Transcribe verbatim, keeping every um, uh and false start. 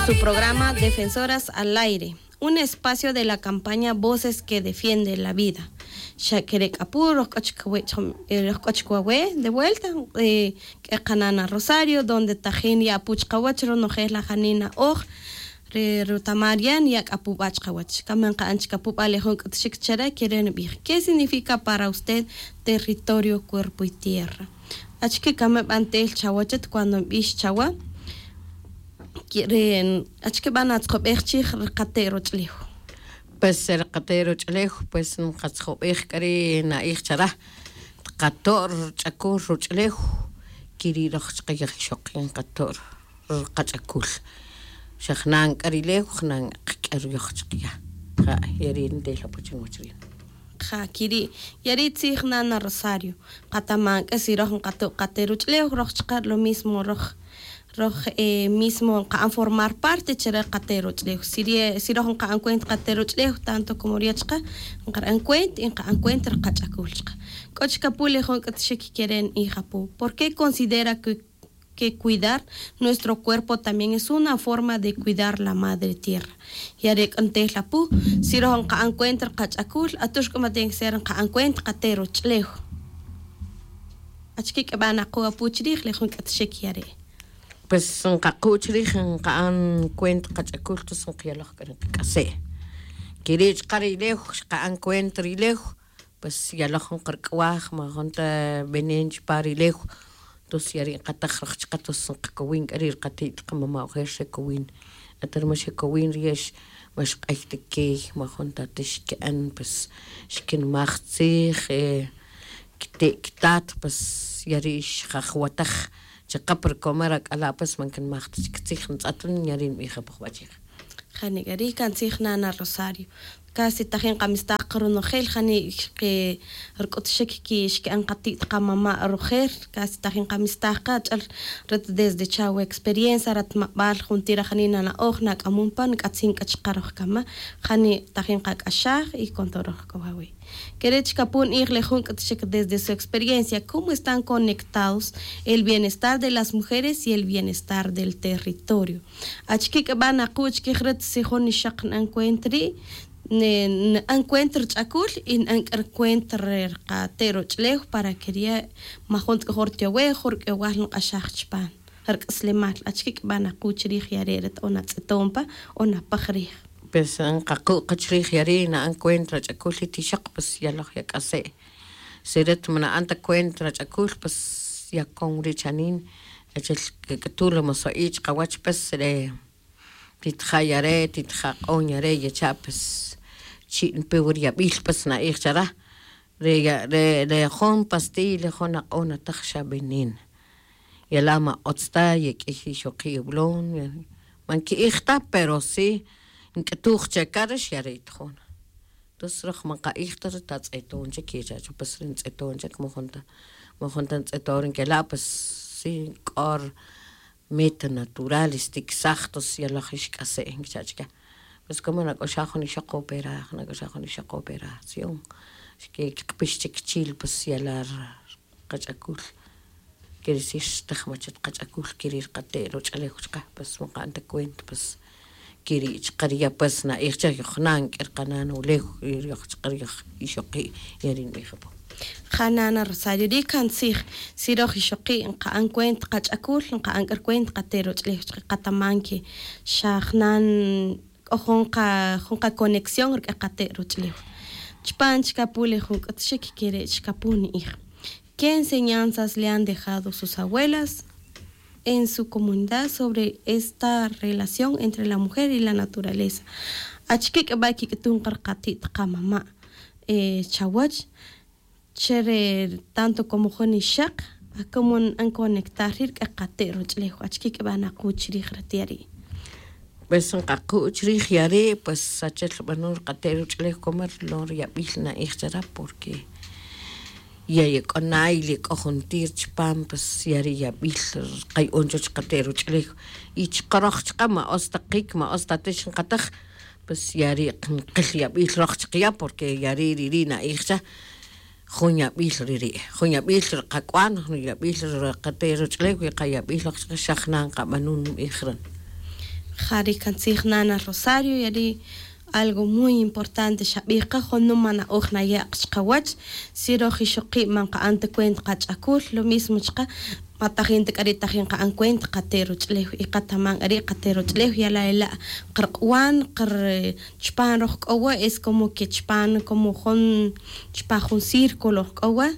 Su programa Defensoras al Aire, un espacio de la campaña Voces que Defienden la Vida. Xa kere' k'a pu roj k'o chik wawe' chom- eh, roj k'o chik wawe' de vuelta, eh, k'e qanana Rosario, donde tajin ya' pu chqawach ronojel la janina oj re rutamar yan ya' k'a pu b'a chqawach. Kame nqa'an chik apu b'a le jun k'utxik chare kere' nb'ij: ¿Qué significa para usted territorio, cuerpo y tierra? Achike kame b'antel chawachet cuando nb'ix chawa? Kere' achike b'a natzjob'ej chij ri qate' roch'lew? Pues ri qate' roch'lew, pues nqatzjob'ej k'a ri na'ij chara, tqato' rch'akul roch'lew, kiri' roj chqe yaj ixoqi' nqato' ri qach'akul. Xa jnan k'a ri lew, jnan qk'e ruyoj chqe ya. Ja' ya ri' ntel apu chi nwach rin. Ja kiri', ya ri' tzij nana Rosario. Qataman k'a si roj nqato' qate' roch'lew, roj chqa' lo mismo roj, roj eh, mismo nqa'an formar parte chare qate' roch'lew. Si ri, si roj nqa'an cuenta qate' roch'lew tanto como ri ya' chqa', nqaran cuenta y nqa'an cuenta ri qach'akul chqa'. K'o chik apu le jun k'utxik kere' nb'ij apu: ¿Por qué considera que que cuidar nuestro cuerpo también es una forma de cuidar la madre tierra? Ya re' k'a ntel apu, si roj nqa'an cuenta ri qach'akul, atux k'a ma tiene que ser nqa'an cuenta qate' roch'lew. Achike k'a b'a naqu' apu chi rij le jun k'utxik ya re'? Pues nqaqu' chi rij nqa'an cuenta qach'akul, tos nqyaloj k'a ri qak'ase'. Kiri' chqa' ri lew, xqa'an cuenta ri lew, pues yaloj jun qark'waj, ma jun ta veneno chupa' ri lew. Tos ya ri' nqataj roj chqa', tos nqakowin k'a ri' ri qati't qamama' ojer xekowin. Ata ri ma xekowin ri' ya ma xq'ay ta key, ma jun ta ta xke'an, pues xkinmaj tzij, eh, kite' kitat, pues ya ri' xjajwataj chaqap ri comer ak'ala', pues man kinmaj ta chik tzij, ntz'at rin, ya ri' nb'ij apu jb'a' chij. Jani k'a ri' kantzij nana Rosario. Casi tajin qamistaj qa ronojel jani' xqe rk'utxik ki xke'an qati't qamama' rojel. Casi tajin qamistaj qa ch'al rat desde chawe experiencia rat mab'al juntir ajani' nana'oj nak'amon pan k'atzin k'a chqa' roj kama'. Jani' tajin qak'axaj y con todo roj k'o wawi'. Kere' chik apu nb'ij le jun k'utxik desde su experiencia cómo están conectados el bienestar de las mujeres y el bienestar del territorio. Achike k'a b'a naqu' chikij rat si jun ixaq na'an cuenta ri', ne- na'an cuenta rich'akul y na'an k'a ri cuenta re qate' roch'lew para que ri' ma jun ta k'a jun ritiyowe' jun rik'ewal nq'axaj chupan rik'aslemal. Achike k'a b'a naqu' chi rij ya re' rat o natz'eton pa o napaj rij? Pues nqaqu' qa chi rij ya ri' na'an cuenta rach'akul y ti ixaq, pues yaloj yak'ase'. Si rat ma na'an ta cuenta rach'akul, pues yakon ri' chanin, achel kik'utu' le moso'i' chqawach, pues re titja' ya re', titja' q'on ya re' yecha', pues chi' npe wi ri yab'il, pues na'ij chara. Re ya- re re jun pastilla, jun aq'on nataj xa veneno. Yala' ma otz ta ye k'iy ixoqi' iwlon, ma nki'ij ta, pero si nk'utuj che kar ix ya re' itjon. Tos roj ma nqa'ij ta ri tatz'eton chik yecha' cho, pues ri ntz'eton chik ma jun ta, ma jun ta ntz'eton ri nkela', pues si k'o ri meta natural xtiksaj, tos yaloj ixk'ase' nkicha' chike. Pues como nak'oxaj jun ixoq operaj, nak'oxaj jun ixoq operación, xkikpix chik chil, pues yala' ri qach'akul. Quiere decir xtaj machet qach'akul, quiere decir qate' roch'alew chaqe, pues ma nqa'an ta cuenta, pues quiere chaqe ri ya' pues na'ij chaq yoj nan k'e ri qanan ulew, yoj chaqe ri yoj ixoqi', ya ri' nb'ij apo. Ja nana Rosario, ri' kantzij, si roj ixoqi' nqa'an cuenta qach'akul, nqa'an k'a ri cuenta qate' roch'alew chaqe, qataman que xa jnan k'o jun qa jun qaconexión rk'ë qate' roch'lew. Chupan chik apu le jun k'utxik kere' chik apu ni'ij: ¿Qué enseñanzas le han dejado sus abuelas en su comunidad sobre esta relación entre la mujer y la naturaleza? Achike k'a b'a kik'utuj qa ri qati't qamama' chawäch? Che re tanto como jun ixaq, a cómo nb'an conectar ri' rk'ë qate' roch'lew, achike k'a b'a naqu' chi rij re ti' ri'? Pues nqaqu' chi rij ya ri', pues achel b'anun ri qate' roch'lew, como ri lon ri yab'il na'ij che rä, porque ya ye k'o na'y, ya k'o jontir chpam, pues ya ri' yab'il qaya'on chuwäch qate' roch'lew. Y chqä röj chqä ma ütz ta qiq, ma ütz ta tix nqatäj, pues ya ri' nqil yab'il röj chqä ya, porque ya ri' ri' ri' na'ij che jun yab'il ri ri', jun yab'il ri qak'wan, jun yab'il ri qate' roch'lew, y qa yab'il röj chqä xa jnan nqab'anun nb'ij ri'. Ja ri' can tzij nana rosario ya ri' algo muy importante xabij qa junum man na'oj naya' qa chqawach. Si roj ixoqi' man nqa'an ta cuenta qach'acul lo mismo chqa' ma tajin ta k'a ri' tajin nqa'an cuenta qate' roch'ulew y qataman k'a ri' qate' roch'ulew yala' ela' qarq'uan qar chupan roj k'o wa es como que chupan como jun chupan jun círculo roj k'o wa.